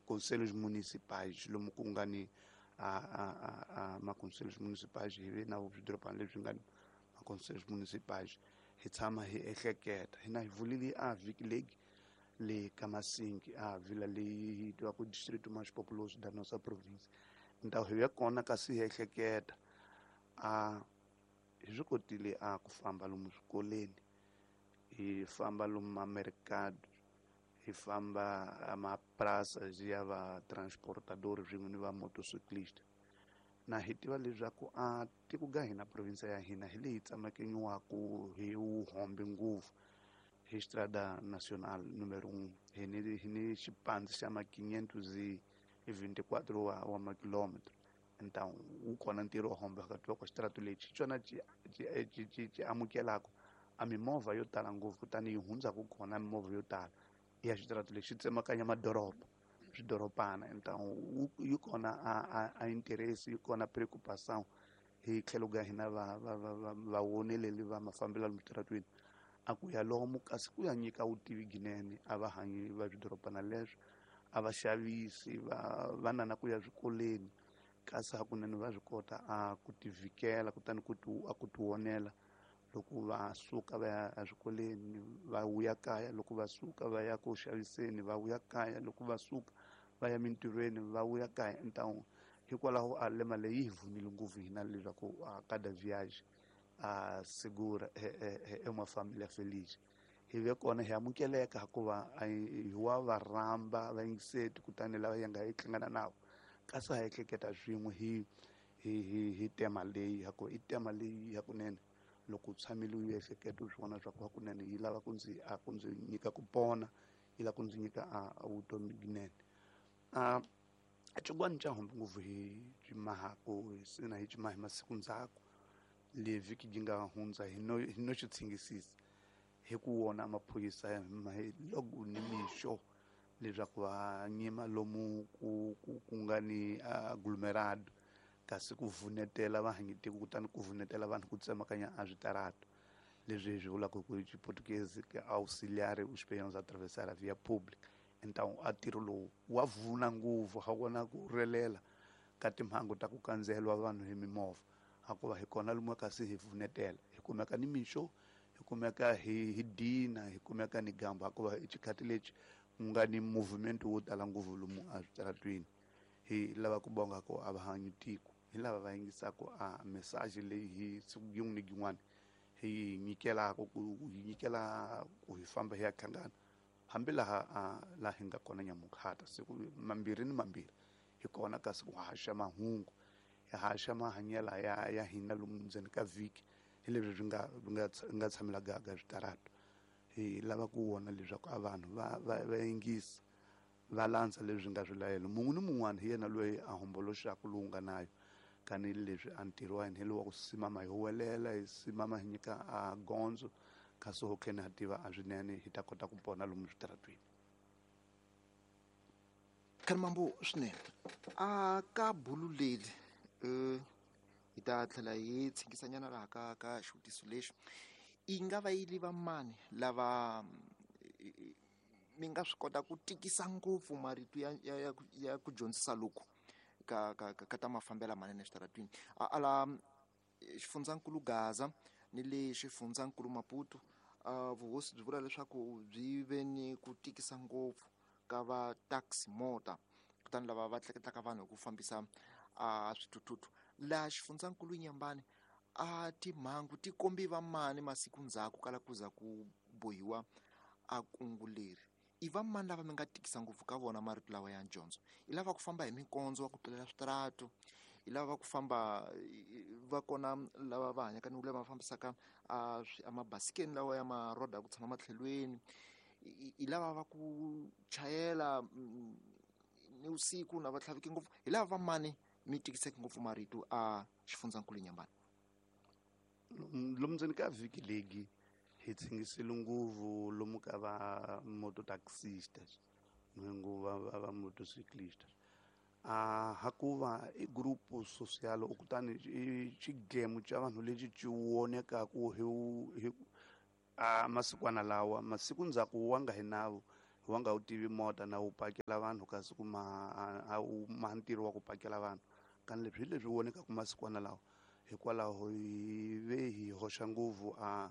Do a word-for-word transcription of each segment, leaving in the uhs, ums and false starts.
conselhos municipais lomu ku nga ni a a a ma-conselhos municipais hi ve na swidorobana leswi nga ni ma-conselhos municipais hi tshama hi ehleketa hina hi vulile a vhiki legi le ka Masingi a vila leyi yi tiviwaka distrito mais populoso da nossa província ndhawu hi ve kona kasi hi ehleketa a hi swi kotile a ku famba lomu swikolweni hi famba lomu mamercado hi famba amapraças ya va transportador swin'we ni va motociclista na hi tiva leswaku a tiko ga hina province ya hina hi leyi tsemekanyiwaka hi wuhombe ngopfu hi Estrada Nacional número um hi ni hi ni xipandzi xa ma quinhentos e vinte e quatro wa, wa makilômetro então wu kona ntirho wo hombe phakathi ka xitarata lexi hi xona xi xi xi xi amukelaka a mimovha yo tala ngopfu kutani yi hundzaka kona mimovha yo tala ya xitarata lexi xi tsemakanya madoroba swidorobana então yi kona a a a interesse yi kona preocupação hi tlhelo ka hina va va va va vawoneleli va mafambelo lomu switaratweni a ku ya lomu kasi ku ya nyika vutivi byinene a va hanyi va swidorobana leswo a va xavisi va va na na ku ya swikolweni kasi hakunene va swi kota a ku ti vhikela kutani ku ti a ku ti vonela loko va suka va ya eswikolweni va vuya kaya loko va suka va ya ku xaviseni va vuya kaya loko va suka va ya mintirhweni va vuya kaya então hikwalaho a lema leyi yi hi pfunile ngopfu hina leswaku a cada viagem a segura é uma família feliz hi ve kona hi amukeleka hikuva hi wa va rhamba vayingiseti kutani lava hi nga hi hlangana navo kasi ha ehleketa swin'we hi hi hi hi tema leyi haku i tema leyi hakunene loko u tshamile u ehleketa u swi vona swa ku hakunene yi lava ku ndzi a ku ndzi nyika ku pona yi lava ku ndzi nyika a vutomi byinene a xin'wana xa hombe ngopfu hi cimahaku sina hi cimaha hi masiku ndzhaku le vhiki yi nga hundza hi no hi no xi tshingisisa hi ku wona maphorisa loko ni mixo leswaku va nyima lomu ku ku ku nga ni aglomerado kasi ku vunetela vahanyitiko kutani ku vunetela vanhu ku tsemakanya a switarato leswi hi swi vulaka ku xiportuguese auxiliar os peões a atravessar a via pública então a ntirho lowu wa vuna ngopfu ha kona ku relela ka timhangu ta ku kandziyeliwa vanhu hi mimovha hikuva hi kona lomu kasi hi vunetela hi kumeka ni mixo hi kumeka hi hi dina hi kumeka ni gambu hikuva i xikhathi lexi ku nga ni movement wo tala ngopfu lomu eswitaratweni hi lava ku bonga ku a va hanyi tiko hi lava va yingisaka a message leyi hi siku yin'wana ni yin'wana hi yi nyikelaka ku hi nyikela ku hi famba hi ya hlangana hambi laha laha hi nga kona nyamukhata siku mambirhi ni mambirhi hi kona kasi ku haxa mahungu hi haxa mahanyelo ya ya hina lomu ndzeni ka vhiki hi leswi swi nga nga nga tshamela gaga switarato hi lava ku vona leswaku a vanhu va va va yingisa va landza leswi nga swilayelo mun'we ni mun'wana hi yena loyi a homboloxaka lowu nga nayo kani leswi a ntirho wa hina hi lowu wa ku simama hi huwelela hi simama hi nyika a gondzo kasi ho khe ha tiva a swinene hi ta kota ku pona lomu switaratweni Khalimambo swinene a ka bulu leri um hi ta tlhela hi tshikisanyana laha ka ka xivutiso lexi yi nga va yi va mani lava mi nga swi kota ku tikisa ngopfu marito ya ya ya, ya ku dyondzisa loku ka ka ka ta mafambelo manene eswitaratwini ala xifundzankulu Gaza ni le xifundzankulu Maputo uh, vuhosi byi vula leswaku byi ve ni ku tikisa ngopfu ka va taxi mota kutani lava va tleketlaka vanhu hi ku fambisa uh, swithuthuthu laha xifundzankulu Nyambani a timhangu ti kombi va mani masiku ndzhaku kala ku za ku bohiwa a kungu leri i va mani lava mi nga tikisa ngopfu ka vona marito lawa ya dyondzo i lava ku famba hi minkondzo wa ku tlulela switaratu i lava ku famba va kona lava va hanyaka ni lava va fambisaka a mabasikeni lawa ya maroda ya ku tshama matlhelweni i lava va ku chayela ni vusiku na va tlhaviki ngopfu hi lava va mani mi tikiseke ngopfu marito a xifundzankulu Nyambani lomu ndzeni ka vhiki legi hi tshingisile ngopfu lomu ka va mototaxistas va va va motociclistas a hakuva i grupo social kutani i xigemu xa vanhu lexi xi vonekaku hi hi a masikwana lawa masiku ndzhaku wa nga hi navo Wa nga wu tivi mota na wu pakela vanhu kasi ku ma a wu ma ntirho wa ku pakela vanhu. Kani leswi hi leswi vonekaka masikwana lawa, hikwalaho hi ve hi hoxa ngopfu a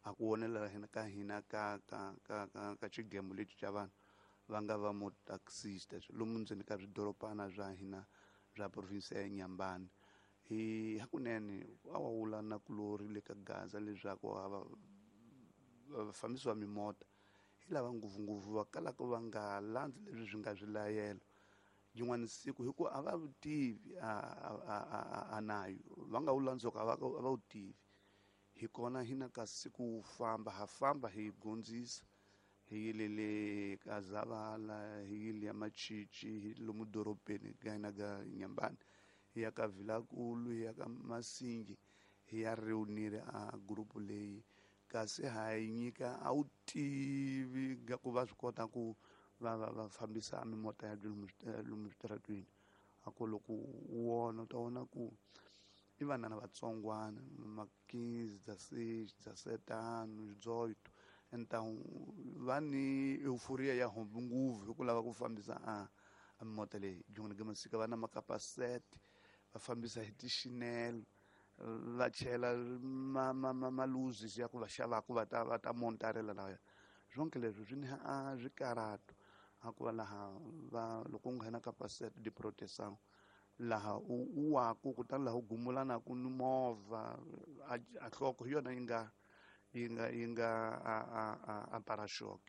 a ku vonela hina ka hina ka ka ka ka ka xigemu lexi xa vanhu va nga va motaxista lomu ndzeni ka swidorobana swa hina swa province ya Inhambane. Hi hakunene a wa wula na kulori le ka Gaza leswaku a va vafambisi va mimota hi lava ngopfungopfu va kalaka va nga landzi leswi swi nga swilayelo yin'wana siku, hikuva a va tivi a a a a nayo va nga wu landzoka a va a va wu tivi. Hi kona hina ka siku wu famba ha famba hi gondzisa hi yile le ka Zavala, hi yile ya Machichi, hi lomu dorobeni ka hina ka Inhambane, hi ya ka Vilakulu, hi ya ka Masingi, hi ya reunir a group leyi. Kasi ha yi nyika a wu tivi nga ku va swi kota ku va va va fambisa mimota ya lomu lomu switarateni. A ku loko u vona u ta vona ku i vanana vatsongwana ma quinze, dezesseis, dezessete anos, dezoito. Então va ni euforia ya hombi ngopfu hi ku lava ku fambisa a a mimota leyi. Byin'wana bya masika va na makapasete, va fambisa hi tixinelo, va chela ma ma ma maluzisi ya ku va xavaku va ta va ta montarela laya. Zonke leswi swi ni a swikarato a ku va laha va loko u nghena kapasete de proteção laha u u waku kutani laha u gumulanaku ni movha a a nhloko hi yona yi nga yi nga yi nga a a a a para-choc.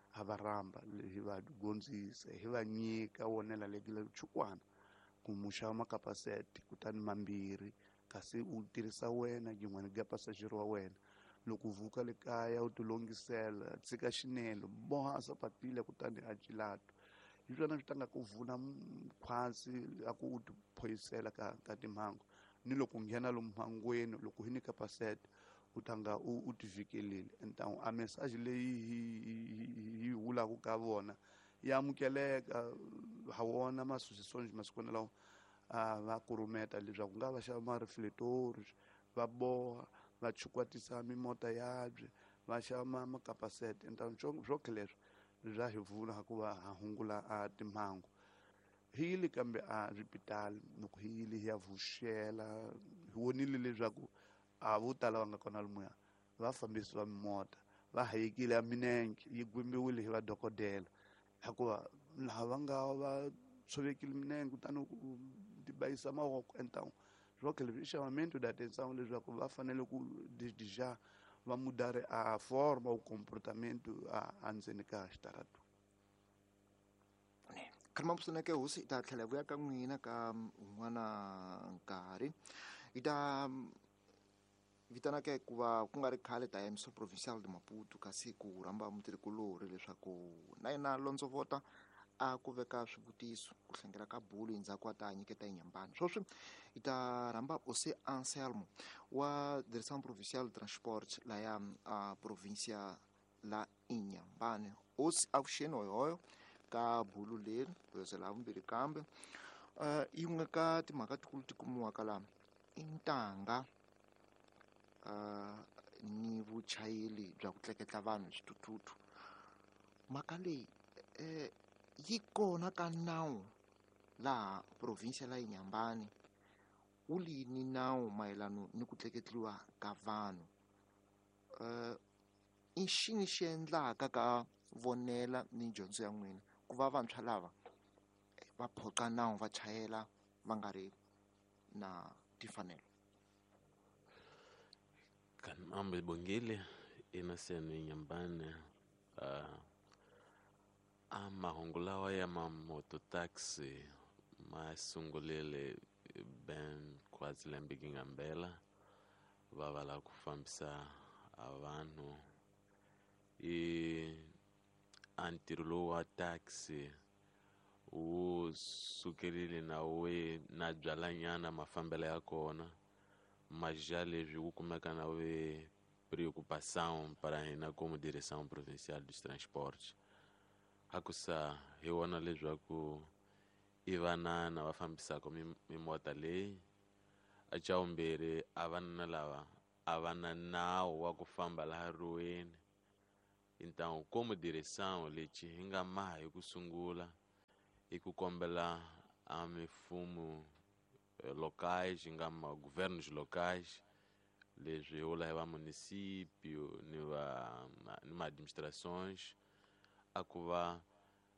Ha va rhamba hi va gondzisa hi va nyika wonela le chukwana ku mu xava makapasete kutani mambirhi, kasi u tirhisa wena yin'wana ga passager wa wena. Loko u vuka le kaya u tilongisela, tshika xinelo, boha sapatile kutani a cilato. Hi swona swi ta nga ku vuna khwatsi a ku u ti phoyisela ka ka timhangu. Ni loko u nghena lomu mhangweni loko hi nyika pasete u ta nga u u ti vhikelile. Então a message leyi hi hi vulaka ka vona ya amukeleka ha wona ma-associations masikwana lawa a va kurumeta leswaku nga va xava ma-reflectors, va boha va chukwatisa mimota yabye, va xava ma makapasete. Então swoke leswi swa hi pfuna hikuva ha hungula a timhangu. Hi yile kambe a swipitali loko hi yile hi ya vuxela hi vonile leswaku a vo tala va nga kona lomuya vafambisi va mimota va hayekile a minenge yi gwembiwile hi vadokodela, hikuva laha va nga va tshovekile minenge kutani ku tibayisa mavoko. Então swoke leswi i chamamento da atenção leswaku va fanele ku desde va mudare a forma o comportamento a ndzeni ka xitarato. Khalima pfuneke hosi hi ta tlhela hi vuya ka n'wina ka un'wana nkarhi. Hi ta vitana ke ku va ku nga ri khale ta ya Municipal Provincial de Maputo kasi ku rhamba mutirhikulorhi leswaku na yena londzovota a ku veka swivutiso ku hlengela ka bulu endzhaku a ta nyiketa Inhambane. Sweswi hi ta rhamba José Anselmo wa Direção Provincial de Transporte laya a província la Inhambane. Hosi avuxeni hoyohoyo ka bulu leri ku vumbirhi kambe uh, yin'we ka timhaka tikulu ti kumiwaka laha i ntanga uh, ni vuchayeri bya ku tleketla vanhu hi swithuthuthu. Mhaka leyi eh, yi kona ka nawu laha provinsia la Inhambane wu lini nawu mayelana ni ku tleketliwa ka vanhu. Uh, i xini xi endlaka ka vonela ni dyondzo ya n'wina ku va vantshwa lava va phoqa nawu va chayela va nga ri na timfanelo? Kanambe Bongile Innocent Inhambane. Uh, a mahungu lawa ya ma-moto taxi ma sungulile ben quase lembe ngambela va va lava ku fambisa a vanhu i a ntirho lowu wa taxi wu sukerile na we na byalanyana mafambelo ya kona mas já leswi wu kumeka na we preocupação para hina como direção provincial dos transportes. Hakusa hi vona leswaku i vanana va fambisaka mimota leyi a xa vumbirhi a vanana lava a va na nawu wa ku famba laha riweni Então, como direção, lexi hi nga maha hi ku sungula i ku kombela a mifumo locais, hi nga ma governos locais, leswi vula hi va município ni va ni ma administrações, a ku va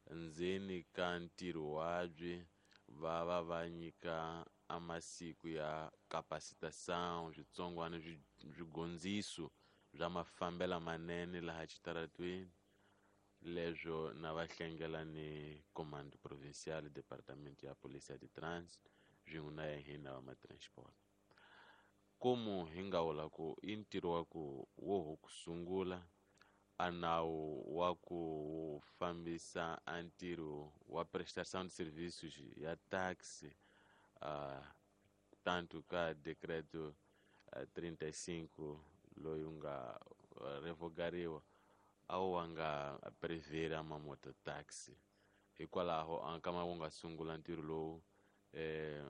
ndzeni ka ntirho wabyi va va va nyika a masiku ya capacitação, switsongwana swigondziso bya mafambelo manene laha xitaratweni. Leswo na va hlengela ni comando provincial, departamento ya polícia de trânsito, swin'we na hina va ma-transport. Como hi nga vula ku i ntirho wa ku wo ho ku sungula a nawu wa ku fambisa a ntirho wa prestação de serviços ya taxi, uh, tanto ka decreto uh, trinta e cinco loyi wu nga uh, revogariwa a wu wa nga prevera ma mototaxi. Hikwalaho a nkama wu nga sungula ntirho lowu eh,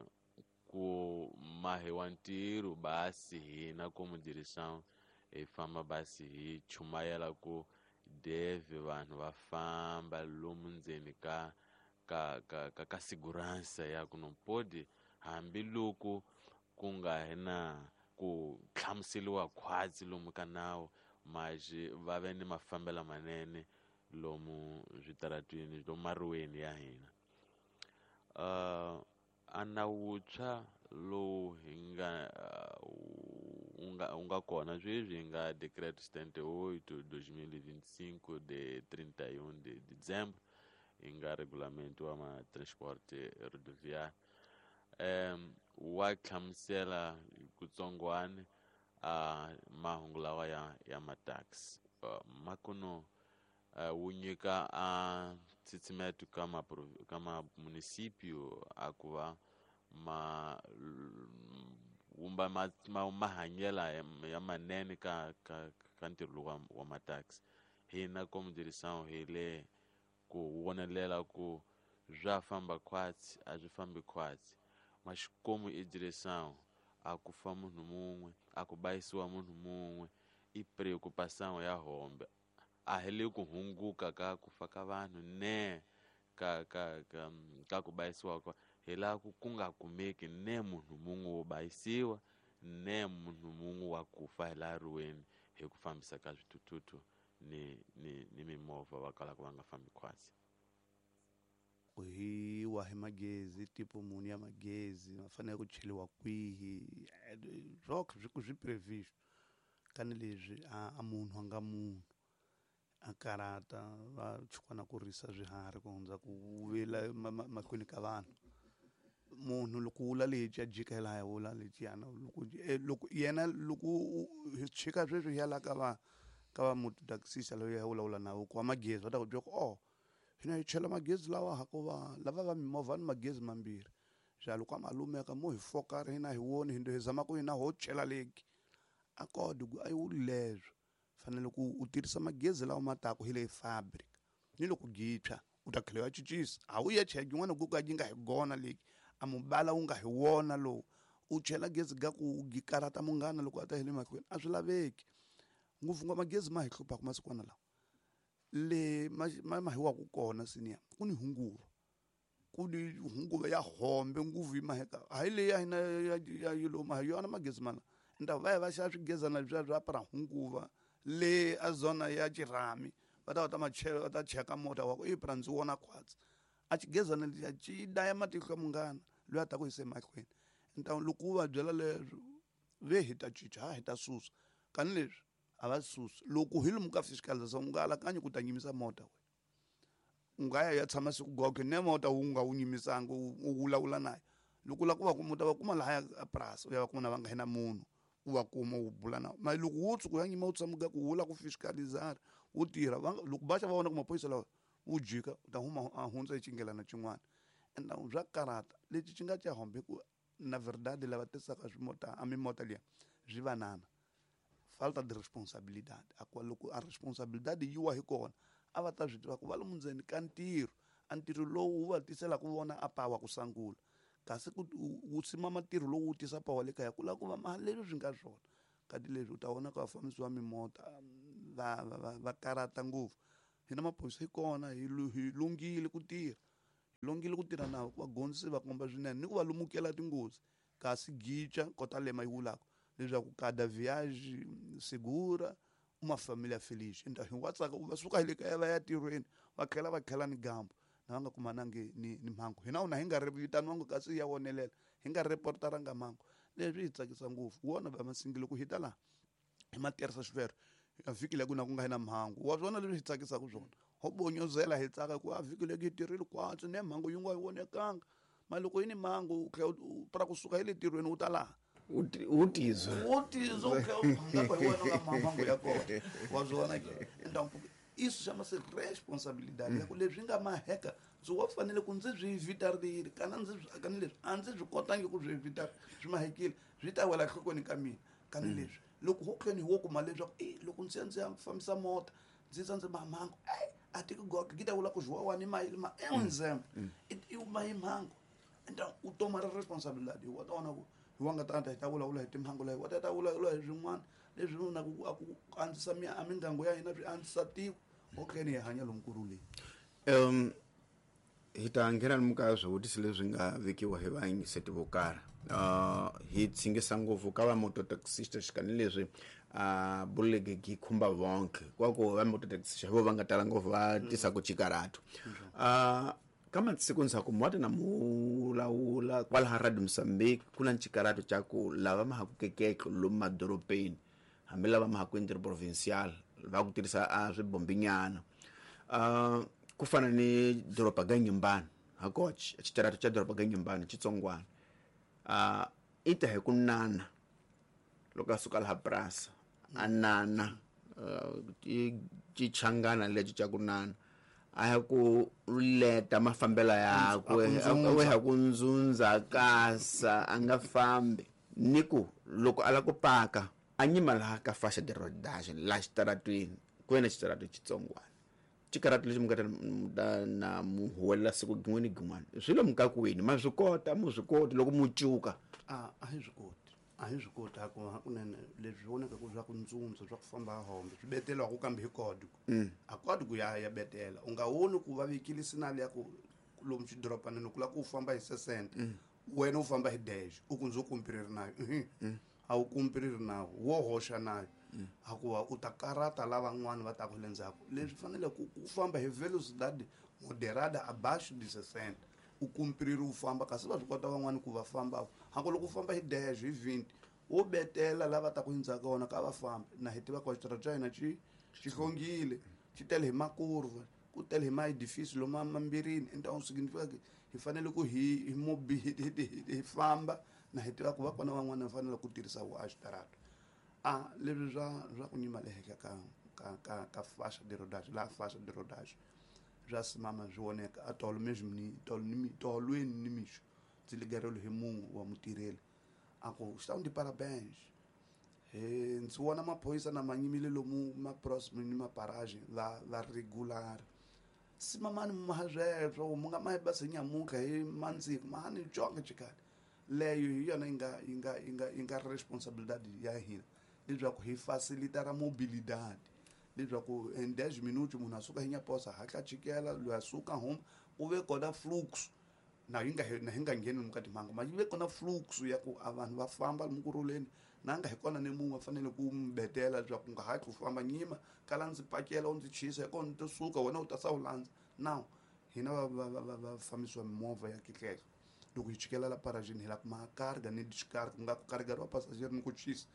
ku mahiwa ntirho basi hina como direção hi famba basi hi chumayela ku deve vanhu va famba lomu ndzeni ka ka ka ka, ka segurança ya ku não pode hambiloko ku nga hi na ku hlamuseriwa khwatsi lomu ka nawu, mas va ve ni mafambelo manene lomu switaratwini lomu maruweni ya hina. Uh, a nawu wuntshwa lowu hi nga wu nga wu nga kona sweswi hi nga decreto setenta e oito dois mil e vinte e cinco de trinta e um de dezembro, hi nga regulamento wa ma transporte rodoviário, um, wa hlamusela kutsongwana a mahungu lawa ya ya mataxi uh, makuno uh, wu nyika a tshitsimeto ka ma ka ma município a ku va ma wumba ma, ma mahanyela ya, ya manene ka ka ka ntirho lowu wa, wa mataxi. Hina como direção hi le ku vonelela ku swa famba khwatsi a swi fambi khwatsi, mas como i direção a ku fa munhu mun'we, a ku bayisiwa munhu mun'we i preocupação ya hombe. A hi le ku hunguka ka ku fa ka vanhu ne ka ka ka ka ku bayisiwa ka hi laha ku ku nga kumeki ne munhu mun'we wo bayisiwa ne munhu mun'we wa ku fa hi laha ruweni hi ku fambisa ka swithuthuthu ni ni ni mimovha va kalaka va nga fambi khwatsi. Hi wa hi magezi tipo muni ya magezi ma fanele ku cheliwa kwihi swokhe swi swi previsto kani leswi a, a munhu a nga munhu a karata va chukwana ku risa swiharhi ku hundza ku vela mahlweni ka vanhu. Munhu loko wula lexi a jika hi laha wula lexiyana loko loko yena loko hi chika sweswi hi ya la ka va ka va mototaxista loyi a vulavula na ku wa magezi va ta ku byela ku oh hina hi chela magezi lawa hakuva lava va mimovha ni magezi mambirhi xa loko a malumeka mo hi fokara hina hi woni hi hi zama ku hina ho chela leki a kodi ku a yi wuli leswo fanele ku u tirhisa magezi lawa ma taku hi le fabric ni loko gitshwa u ta tlhela u ya cincisa a wu ya chela yin'wana ku ka yi nga hi gona leki a mubala wu nga hi wona lowu u chela gezi ga ku gi karata munghana loko a ta hi le mahlweni a swi laveki ngopfu ngopfu magezi ma hi hluphaka masikwana lawa le ma ma hi wa ku kona senior ku ni hunguva ku ni hunguva ya hombe nguvu yi maheka hayi leyi ya hina ya ya yilo ma hi yona magezi mana nda va ya va xava swigezana leswiya swa pra hunguva le a zona ya xirhami va ta va ta machela va ta cheka mota wa ku i pra ndzi wona khwatsi a xigezana lexiya xi daya matihlo ya munghana loyi a ta ku yisa emahlweni. Nta loko u va byela leswo ve hi ta cinca ha hi ta susa kani leswi a va susi loko hi lomu ka fiscalização u nga alakanyi ku ta nyimisa mota we u nga ya ya tshama siku goge ne mota wu nga wu nyimisanga u vulavula naye loko u lava ku va kuma u ta va kuma lahaya a purasi u ya va kuma na va nga hina munhu u va kuma u bula na ma loko wo tshuka u ya nyima u tshama ku wu lava ku fiscalizar wu tirha loko va xa va vona ku maphorisa lawa wu jika u ta huma a hundza hi xinghelana xin'wana ende bya karata lexi xi nga xa hombe ku na verdade lava tisaka swimota a mimota liya swi vanana falta de responsabilidade a ku loko a responsabilidade yi wa hi kona a va ta swi tiva ku va lomu ndzeni ka ntirho a ntirho lowu wu va tiselaka vona a pawa ku sangula kasi ku wu simama ntirho lowu wu tisa pawa le kaya ku lava ku va mali leswi swi nga swona kati leswi u ta vona ka vafambisi va mimota va va va karata ngopfu hina maphorisa hi kona hi hi lunghile ku tirha hi lunghile ku tirha na va gondzisi va komba swinene ni ku va lumukela tinghozi kasi gicha kota lema yi vulaka leswaku cada viagem segura uma família feliz. Então hi wa tsaka va suka hi le kaya va ya tirhweni va tlhela va tlhela ni gambo na va nga kumanangi ni ni mhangu hina una hi nga ri vitaniwangi kasi ya wonelela hi nga reportaranga mhangu leswi hi tsakisa ngopfu wona va masingile ku hi ta laha hi ma tirhisa xivero a vhiki leyi ku na ku nga hi na mhangu wa swona leswi hi tsakisaka swona ho bonyozela hi tsaka ku a vhiki leyi hi tirhile kwatsi ne mhangu yi nga yi vonekanga ma loko yi ni mhangu u tlhela u pra kusuka hi le tirhweni u ta laha u tizwa u tizwa u tlhela u nga hi wena nga mhangu ya kona wa swona ke então isso chama-se responsabilidade ya ku leswi nga maheka ndzi wa fanele ku ndzi swi evitarile kana ndzi kani leswi a ndzi swi kotangi ku swi evita swi mahekile swi ta wela nhlokweni ka mina kani leswi loko ho tlheni hi wo kuma leswaku e loko ndzi ya ndzi ya fambisa mota ndzi tsa ndzi mamhangu e a ti ku goka ki ta vula ku zwiwa ni mayili ma é um exemplo i uma hi mhangu então u toma responsabilidade wa tona ku hi wa nga ta ta hi ta vulavula hi timhangu leyi wa ta ta vulavula hi swin'wana leswi na ku ku andzisa a mingango ya hina swi andzisa tiko okay ni hi hanya lomu kurhuleni um hi ta nghena lomu ka swivutiso leswi nga vekiwa hi vayingiseti vo karhi uh hi tsingisa ngopfu ka va mototaxista xikan'we leswi a buleke yi khumba vonke kwa ku va mototaxista vo va nga tala ngopfu va tisa ku chikarato uh ka masiku ndzhaku mwati na mulawula kwalaha Radio Mozambique ku na ncikarato xa ku lava ma ha ku kekeke lomu madorobeni hambi lava ma ha ku interprovincial va ku tirhisa a swibombinyana uh ku fana ni doroba ga Nyimbana hakoch xitarato xa doroba ga Nyimbana xitsongwana uh i ta hi ku nana loko a suka laha purasa a nana i xichangana lexi xa ku nana a ya ku leta mafambelo yakwe a ya ku ndzundza kasa a nga fambi ni ku loko a la ku paka a nyima laha ka faixa de rodagem laha xitaratwini ku ve na xitarato xitsongwana xikaratu lexi mi nga ta na mu huwelela siku gin'we ni gin'wana swi lomu ka kwini ma swi kota mu swi koti loko mu cuka a a hi swi koti a hi swi koti hakunene leswi vonaka swa ku ndzundza swa ku famba hombe swi betelwaku kambe hi kodi a kodi ku ya ya betela u nga voni ku va vekile sinali ya ku lomu xidorobanini ku lava ku u famba hi sesente wena u famba hi dash u ku ndzi kumpiriri nayo a wu kumpiriri nawo wo hoxa nayo hakuva u ta karata lavan'wana va taku le ndzhaku leswi fanele ku ku famba hi velocidade moderada abaixo de sessenta u kumpiriri u famba kasi va swi kota van'wani ku va famba hako loko u famba hi dash hi vinte wo betela lava taku hi ndzhaku ka wona ka va fambi na hi tiva ku xitarata xa hina xi xi hlongile xi tele hi makurva ku tele hi maedifício lomu mambirini então significa que hi fanele ku hi hi mobi hi famba na hi tiva ku va kona van'wana va fanele ku tirhisa wo a xitarato a leswi swa swa ku nyima le henhla ka ka ka ka faixa de rodagem laha faixa de rodagem swa simama swi voneka a tolo mesmo ni tolo ni tolweni ni mixo ndzi ligerelo hi munhu wa mutirheli a ku estão de parabéns e ndzi vona maphorisa na manyimile lomu ma próximo ni maparagem va va regular simamani ma sweswo mu nga ma basi nyamuka hi mandziko mahani jonga chikali leyo hi yona yi nga yi nga yi nga yi nga responsabilidade ya hina leswaku hi facilitar a mobilidade leswaku em dez minutos munhu a suka hi nyaposa hatla chikela loyi a suka huma ku ve kona fluxo na yi nga na hi nga ngheni lomu ka timhangu ma yi ve kona fluxo ya ku a vanhu va famba lomu kurhuleni na nga hi kona ni munhu a fanele ku mi betela leswaku u nga hatli u famba nyima kala ndzi pakela u ndzi chisa hi kona ni suka wena u ta sa u landza now hina va va va va fambisiwa mimovha ya kihlehla loko hi chikela la paragini hi la ku ma carga ni descarga ku nga ku carregariwa passageiro ni ku chisa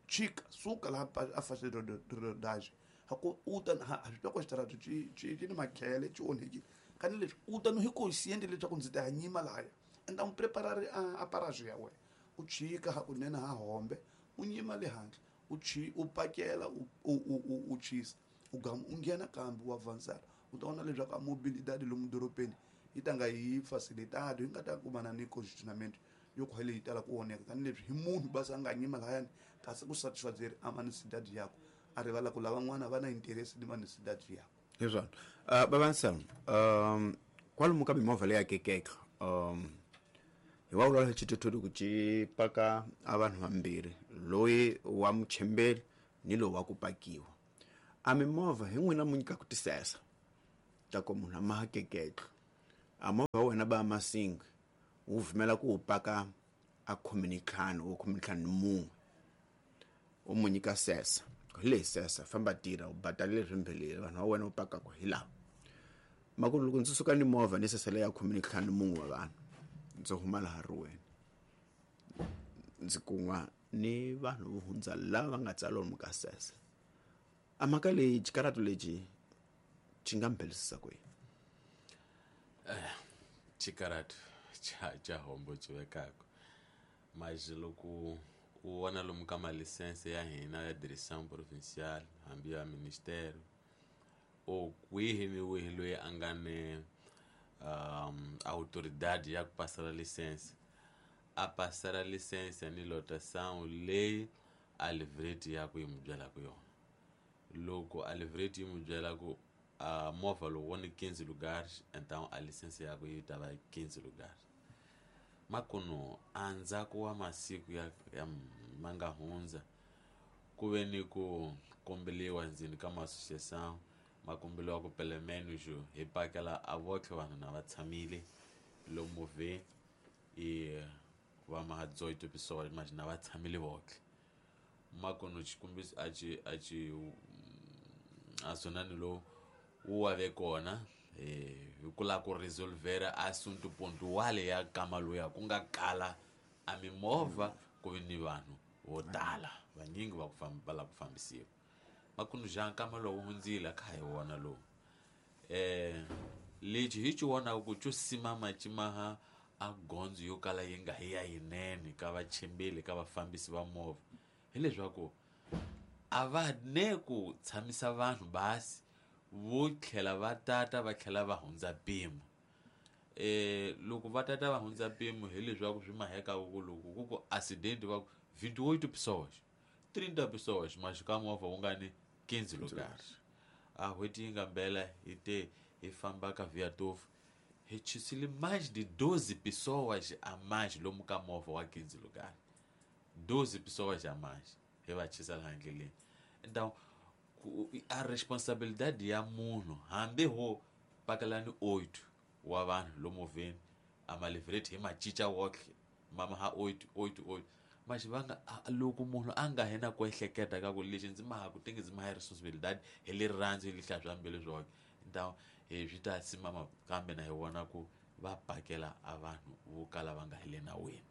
chika suka laha a faixa de rodagem hako u ta ha swi twa ku xitarato xi xi xi ni makhele xi onhekile kani leswi u ta no hi consciente leswaku ndzi ta ya nyima lahaya enda u preparar a paragem ya wena u chika hakunene ha hombe u nyima le handle u chi u pakela u u u chisa u gama u nghena kambe u avançar u ta vona leswaku a mobilidade lomu dorobeni yi ta nga yi facilitado yi nga ta kumana ni congestionamento yo ku leyi tala ku onheka tani leswi hi munhu basa a nga nyima lahayani kasi ku satisfazer a manicidade yakwe a rivala ku lavan'wana va na interest ni manicidade yakwe hi swona uh, babansam um kwalomu ka mimovha leyi akekeka um hi wa vulavula hi xithuthuthu ku ci paka a vanhu vambirhi loyi wa muchembeli ni lowu wa ku pakiwa A mimovha hi n'wina mu nyikaka tisesa ta ku munhu a ma hakeketlo. A movha wa wena ba masingi wu vumela ku wu paka a khume ni ntlhanu o khume ni ntlhanu ni mun'we. U mu nyika sesa. Hi leyi sesa famba tirha u badalile swimbhelele vanhu va wena u pakaka hi lava. Maku loko ndzi suka ni movha ni sesa leyi ya khume ni ntlhanu ni mun'we wa vanhu ndzi huma laha riweni ndzi kun'wa ni vanhu vo hundza lava va nga tsala lomu ka sesa. A mhaka leyi xikarhato lexi xi nga mbhelisisa ku yini? Eh, xikarhato xa xa hombo xi vekaka mas loko u vona lomu ka malisense ya hina ya direction provincial hambi ya ministério o kwihi ni wihi loyi a nga ni um autoridade ya ku pasela lisense a pasela lisense ni lotação leyi a livreti ya ku yi mu byelaka yona. Loko a livreti yi mu byela ku a movha lowu wo ni quinze lugares, então a lisense ya ku yi ta va quinze lugares. Makuno endzhaku wa masiku ya, ya ma nga hundza ku ve ni ku kombeliwa ndzeni ka ma-associação ma kombeliwa ku pelo menos hi pakela a votlhe vanhu na va tshamile lomu movheni e va ma dezoito pessoas mas na va tshamile votlhe. Makuno xikombiso a xi a xi a swonani lowu wu wa ve kona eh hi ku lava ku resolvera assunto pontual ya kama loya ku nga kala a mimovha ku ve ni vanhu vo tala vanyingi va ku famba va lava ku fambisiwa. Makuno ja nkama lowu hundzile kha hi wona lowu eh lexi hi xi vonaka ku xo simama ximaha a gondzo yo kala yi nga hi ya yinene ka vachimbeli ka vafambisi va movha hileswaku a va ne ku tshamisa vanhu basi vo tlhela va tata va tlhela va hundza mpimo. Eh loko va tata va hundza mpimo hileswaku swi maheka ku loko ku ku accident va ku vinte e oito pessoas trinta pessoas mas ka movha wu nga ni quinze lugares. A n'hweti yi nga mbela hi te hi famba ka Viatovo hi chisile mais de doze pessoas a mais lomu ka movha wa quinze lugares. doze pessoas a mais hi va chisa laha ndleleni. Então a responsabilidade ya munhu hambi ho pakelani oito wa vanhu lomu movheni a malivreti hi ma cinca wotlhe mama ha oito oito oito mas va nga loko munhu a nga hina ku ehleketa ka ku lexi ndzi maha ku tenge ndzi maha responsabilidade hi rirhandzu hi lihla swa mbilu swoke. Então hi swi ta simama kambe na hi vona ku va pakela a vanhu vo kala va nga hi le nawini.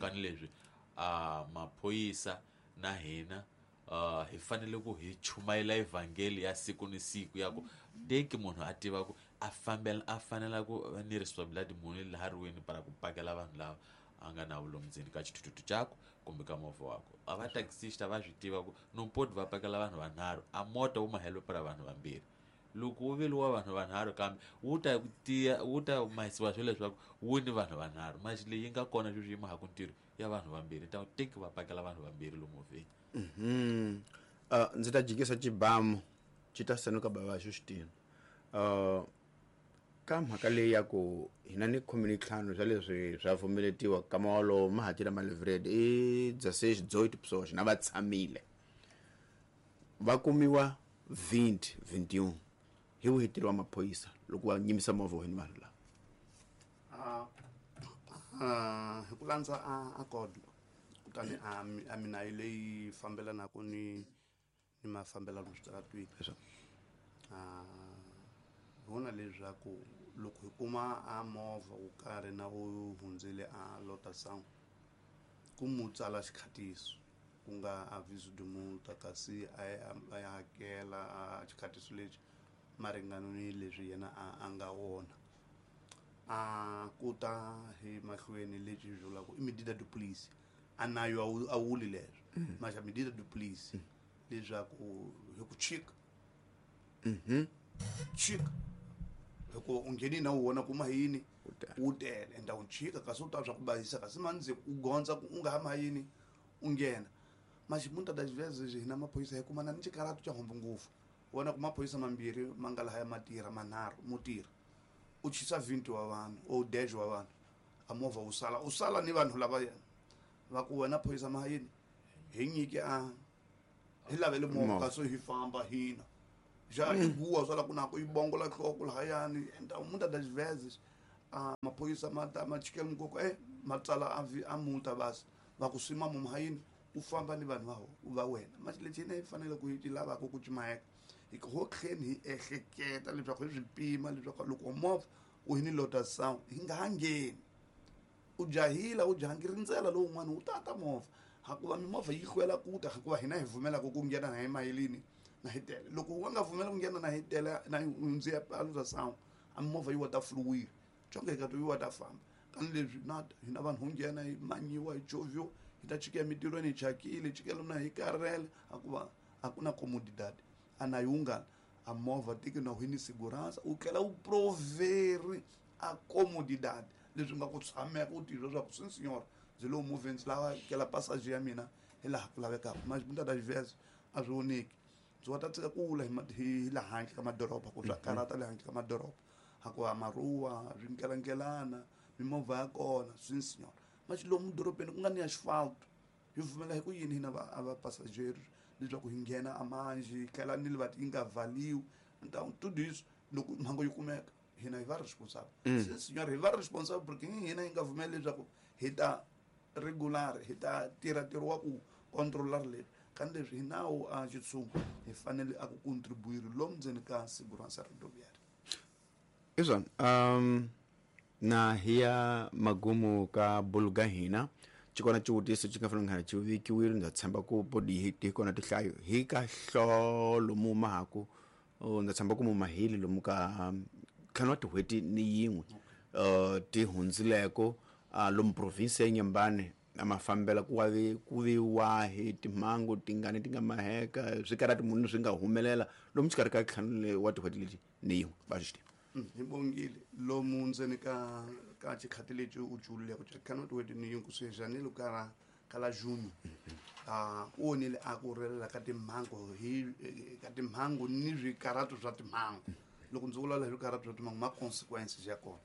Kani leswi a maphorisa na hina uh hi fanele ku hi chumayela evhangeli ya siku ni siku ya ku teki munhu a tiva ku a fambela a fanela ku va ni responsabilidade munhu laha riweni para ku pakela vanhu lava a nga na vulomu ndzeni ka xithuthuthu xakwe kumbe ka movha wakwe. A va taxista va swi tiva ku no poti va pakela vanhu vanharhu a mota wu mahelo para vanhu vambirhi. Loko wu veliwa vanhu vanharhu kambe wu ta tiya wu ta mahisiwa swilo leswaku wu ni vanhu vanharhu mas leyi nga kona sweswi yi maha ku ntirho ya vanhu vambirhi ta teki va pakela vanhu vambirhi lomu movheni. Mhm. Uh, ndzi ta jikisa xibamu xi ta sanuka bava xo xitina. Uh, ka mhaka leyi ya ku hina ni khume ni ntlhanu swa leswi swa pfumeletiwa kama wolowo ma hatila malivreti i dezesseis dezoito pessoas na va tshamile va kumiwa vinte vinte e um hi wihi ntirho wa maphorisa loko va nyimisa movha wa vanhu lava? Ah, ah, hi ku landza a a code kutani a a minayi leyi fambelanaka ni ni mafambelano switaratwini. Ah, hi vona leswaku loko hi kuma a movha wo karhi na wu hundzile a lotação ku mu tsala xikhatiso ku nga aviso de multa kasi a ya a ya hakela a xikhatiso lexi maringano ni leswi yena a a nga wona. A ku ta hi mahlweni lexi hi vulaka i medida de police a nayo a wu a wuli leswo mas a medida de police leswaku hi ku chika chika hikuva u nghenile na wu vona ku mahini wu tele ende wu chika kasi u ta swa ku basisa kasi mandze u gondza ku u nga ha mahini u nghena. Mas muitas das vezes hina maphorisa hi kumana ni xikarhato xa hombo ngopfu vona ku maphorisa mambirhi ma nga lahaya ma tirha manharhu mo tirha u chisa vinte wa vanhu o dez wa vanhu a movha wu sala u sala ni vanhu lava va ku wena phorisa mahayini hi nyike a hi lavele movha kasi hi famba hina. Já iguwa swa la ku na ku yi bongola nhloko lahayani então muitas das vezes a maphorisa ma ta ma chikela mukoko eh ma tsala a vi a multa basi va ku sima mumhayini u famba ni vanhu va va wena mas lexi hina hi fanele ku hi lavaka ku cimaheka hi ho tlheni hi ehleketa leswaku hi swi pima leswaku loko movha u hi ni lotação hi nga ha ngheni u jahila u jahangi rindzela lowun'wana wu tata movha hakuva mimovha yi hlwela ku ta hikuva hina hi pfumelaka ku nghena na hi mayelini na hi tele loko wa nga pfumela ku nghena na hi tele na hundzi ya lotação a mimovha yi wa ta fluwile conke ka to yi wa ta famba kani leswi na hina vanhu ho nghena hi manyiwa hi chovhiwa hi ta chika emitirhweni hi chakile chikela na hi karhele hakuva a ku na comodidade a na yungana a movha tiki na hi ni segurança u tlhela u proveri a comodidade leswi nga ku tshameka u titwa swa ku sim senhor ndzi lowu movheni ndzi lava kela passage ya mina hi laha ku lavekaka mas muitas das vezes a swi voneki ndzi wa ta tsika kula hi hi laha handle ka madoroba ku swa karhata le handle ka madoroba hakuva maruwa swinkelankelana mimovha ya kona sim senhor mas lomu dorobeni ku nga ni asfalto hi pfumela hi ku yini hina va a va passageiro leswaku hi nghena amanji tlhela ni livati yi nga valiwi então tudo isso loko mhangu yi kumeka hina hi va responsable sim senhor hi va responsable porque hina hi nga pfumeli leswaku hi ta regular hi ta tirha ntirho wa ku controlar leswi kani leswi hi nawu a xitshungu hi fanele a ku contribuir lomu ndzeni ka segurança rodoviária i swona um na hi ya magumu ka bulu ga hina xikona xivutiso xi nga fanele nga xi vekiwile ndza tshemba ku bodi hi ti kona tinhlayo hi ka hlolo mu mahaku ndza tshemba ku mu mahili lomu ka ntlhanu wa tin'hweti ni yin'we uh ti hundzileko lomu province ya Nyembane a ma fambela ku wa ku vi wahi timhangu tingani ti nga maheka swikarhati munhu swi nga humelela lomu xikarhi ka ntlhanu wa tin'hweti leti ni yin'we va swi tiva hi bongile lomu ndzeni ka ka xikhati lexi u cululeko xa ntlhanu wa tin'hweti ni yin'we kusuhi janeiro ka ra ka la junho a ku vonile a ku relela ka timhangu hi ka timhangu ni swikarhato swa timhangu loko ndzi vulavula hi swikarhato swa timhangu ma consequences ya kona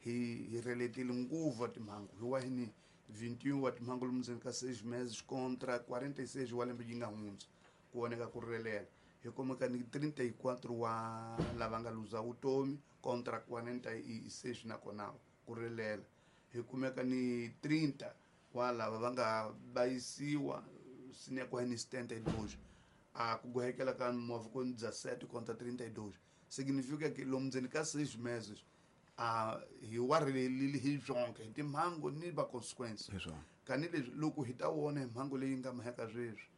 hi hi reletile nguva timhangu hi wa hi ni vinte e um wa timhangu lomu ndzeni ka seis meses contra quarenta e seis wa lembe yi nga hundza ku voneka ku relela hi kumeka ni trinta e quatro wa lava nga luza vutomi contra quarenta e seis nakona ku relela hi kumeka ni trinta wa lava va nga bayisiwa sinekwa ni setenta e dois a ku gohekela ka movha ku dezessete contra trinta e dois significa que lomu ndzeni ka seis meses a hi wa relelile hi byonke hi timhangu ni va consequence kani leswi loko hi ta vona hi mhangu leyi nga maheka sweswi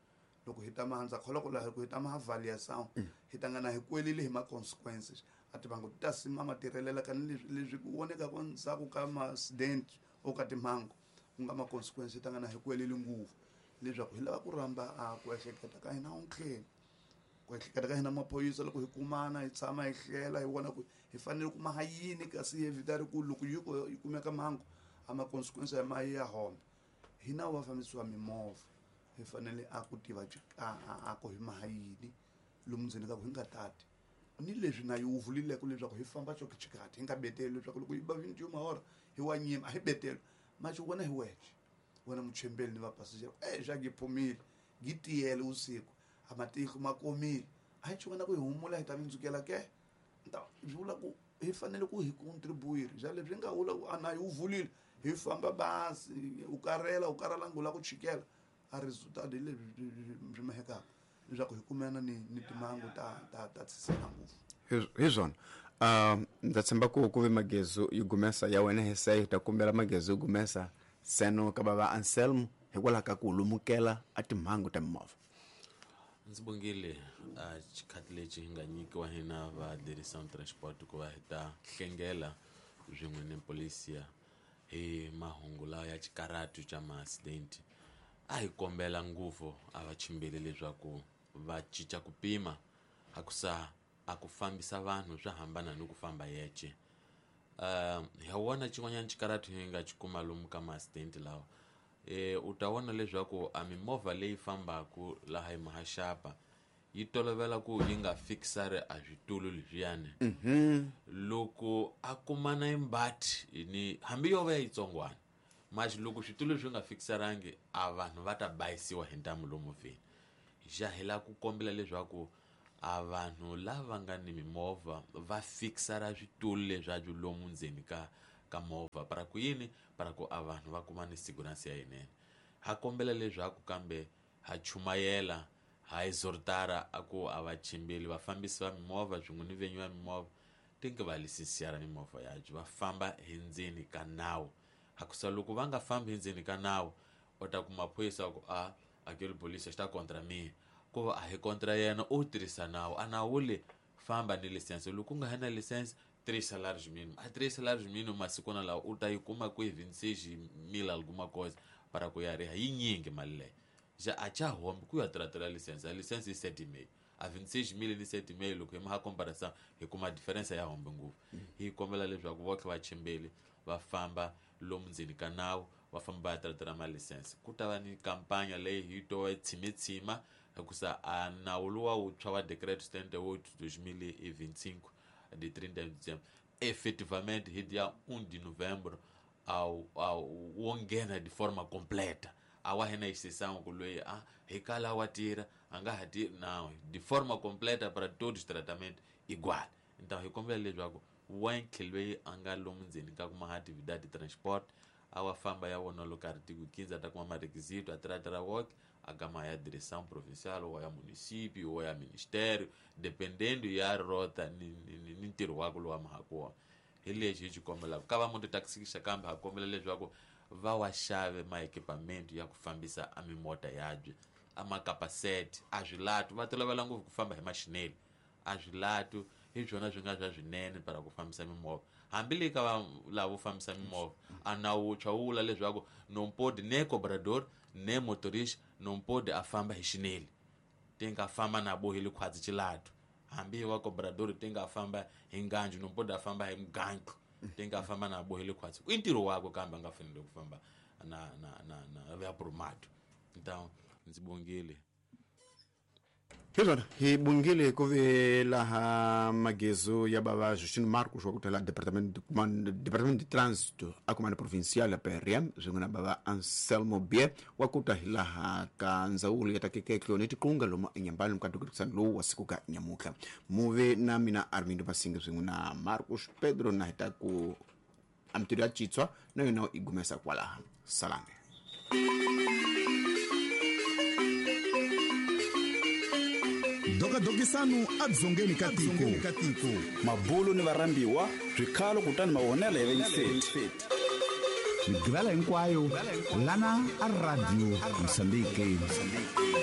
loko hi ta mahandza kholwa ku laha ku hi ta ma avaliação hi ta nga na hi kwelile hi ma consequences a timhangu ti ta sima ma tirhelela kani leswi leswi ku voneka ku ndzhaku ka ma-accident o ka timhangu ku nga ma consequence hi ta nga na hi kwelile ngopfu leswaku hi lava ku rhamba a ku ehleketa ka hina ontlheni ku ehleketa ka hina maphorisa loko hi kumana hi tshama hi hlela hi vona ku hi fanele ku maha yini kasi hi evitari ku loko yi yi kumeka mhangu a ma consequence ya ma ya hombe hina va fambisiwa mimovha hi fanele a ku tiva a ku hi maha yini lomu ndzeni ka ku hi nga tati ni leswi na yi wu vulileko leswaku hi famba xo xikati hi nga beteli leswaku loko yi ba vinte e uma hora hi wa nyima a hi beteli maxi wena hi wexe wena muchembeli ni vapasajero e xa gi phumile gi tiyele usiku a matihlo ma komile a hi xivona ku hi humula hi ta vindzukela ke então swi vula ku hi fanele ku hi contribuir xa leswi nga vula ku a na yi wu vulile hi famba basi u karhela u karhala u lava ku chikela a resultado hi leswi swi mahekaka leswaku hi kumana ni ni timhangu ta ta ta tshisela ngopfu hi swona um ndza tshemba ku ku ve magezu yi gumesa ya wena hi se hi ta kombela magezu yi gumesa seno ka bava Anselmo hikwalaho ka ku lumukela a timhangu ta mimovha ndzi bongile a xikhati lexi hi nga nyikiwa hina va Direção Transport ku va hi ta hlengela swin'we ni polisia hi mahungu lawa ya xikarhatu xa ma-accident a hi kombela ngopfu a va chimbeli leswaku va cinca ku pima a ku sa a ku fambisa vanhu swa hambana ni ku famba yexe uh, hi wona xin'wanyana xikarhatu hi nga xi kuma lomu ka ma-accident lawa e u ta vona leswaku a mimovha leyi fambaku laha hi mahaxapa yi tolovela ku yi nga fikisari a switulu leswiyani loko a kumana imbati ni hambi yo va yitsongwana maxi loko switulu swi nga fikisarangi a vanhu va ta bayisiwa hi ntamu lomu movheni xa hi lava ku kombela leswaku A vanhu lava nga ni mimovha va fikisara switulu leswaku lomu ndzeni ka ka movha para ku yini para ku a vanhu va kuma ni segurança ya yinene. Ha kombela leswaku kambe ha chumayela ha exhortara a ku a va chimbeli vafambisi va mimovha swin'we ni venyi va mimovha tinke va lisensiara mimovha yabyo va famba hi ndzeni ka nawu. Hakusa loko va nga fambi hi ndzeni ka nawu u ta kuma phorisa ku a aquele polícia está contra mim, ku va a hi contra yena u tirhisa nawu a nawu le famba ni lisense loko u nga ha na lisense três salários mínimos a três salários mínimos masikwana lawa u ta yi kuma ku hi vinte e seis mil alguma coisa para ku ya riha yinyingi mali leyi já a cha hombe ku ya tratela lisense a lisense i sete e meio a vinte e seis mil ni sete e meio loko hi maha comparação hi kuma diferença ya hombe ngopfu. Hi kombela leswaku votlhe va chimbeli va famba lomu ndzeni ka nawu va famba va ya tratela malisense. Ku ta va ni kampanya leyi hi to tshimetshima hikusa a nawu luwa wuntshwa wa decreto setenta e oito dois mil e vinte e cinco de trinta de dezembro efetivamente hi dia um de novembro ao ao wo nghena de forma completa a wa hina exceção ku loyi a hi kala wa tira a nga ha tiri não de forma completa para todos os tratamentos igual. Então hi kombela leswaku wentlhe loyi a nga lomu ndzeni ka kuma atividade de transporte a wa famba ya vona loko artigo quinze a ta kuma marequisito a tratara woke a gama ya direção provincial ou ya município ou ya ministério dependendo ya rota ni, ni, ni ntirho wakwe lowu a mahaka wona. Hi lexi hi xi kombelaka ka va mototaxi kambe ha kombela leswaku va wa xave ma-equipamento ya ku fambisa a mimota yabye a makapasete a swilatu va tolovela ngopfu ku famba hi maxineli a swilatu hi swona swi nga swa swinene para ku fambisa mimovha hambi le ka va lavo fambisa mimovha a nawu wuntshwa wu vula leswaku não pode nem cobrador nem motorista não pode a famba hi xineli ti nga famba na boheli khwatsi xilatu hambi wa cobrador ti nga famba hi nganju não pode a famba hi mugantlo ti nga famba na boheli khwatsi i ntirho wakwe kambe a nga fanele ku famba na na na na ya promato. Então ndzi bongile hi swona hi bongile ku ve laha magezo ya bava Justino Marcos wa ku tala departamento departamento de trânsito a comando provincial ya P R M swin'we na bava Anselmo Bie wa ku ta hi laha ka ndzawulo ya takekeklo ni tiqunga lomu enyambani ka dukisano lowu wa siku ka nyamutlha muve na mina Armindo Masinga swin'we na Marcos Pedro na hi ta ku amtirho ya Chitswa na yona i gumesa kwalaha salame. Dokadokisano adzongeni ka tiko mabulu ni varhambiwa swikhalo kutani mavonelo ya vayingiseri migivela hinkwayo lana a Radio Mozambique.